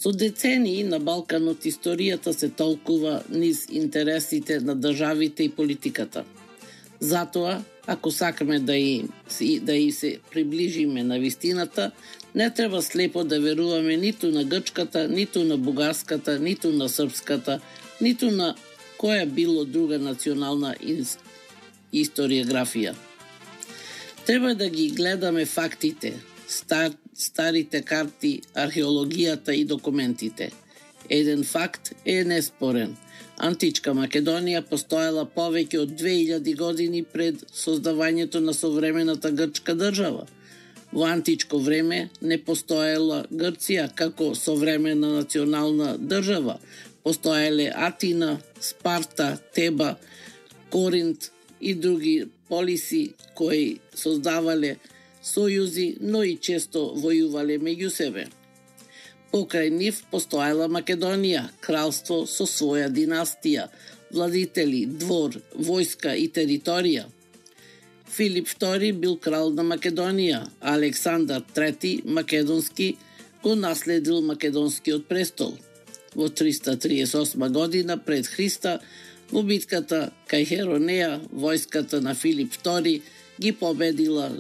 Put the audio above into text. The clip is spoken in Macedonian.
Со децении на Балканот историјата се толкува низ интересите на државите и политиката. Затоа, ако сакаме да и се приближиме на вистината, не треба слепо да веруваме ниту на грчката, ниту на бугарската, ниту на српската, ниту на која било друга национална историографија. Треба да ги гледаме фактите, старите карти, археологијата и документите. Еден факт е неспорен. Античка Македонија постоела повеќе од 2000 години пред создавањето на современата грчка држава. Во античко време не постоела Грција како современа национална држава. Постоеле Атина, Спарта, Теба, Коринт и други полиси кои создавале сојузи, но и често војувале меѓу себе. Покрај нив постоела Македонија, кралство со своја династија, владители, двор, војска и територија. Филип II бил крал на Македонија, а Александар III Македонски го наследил македонскиот престол. Во 338 година пред Христа, во битката кај Херонеја, војската на Филип II ги победила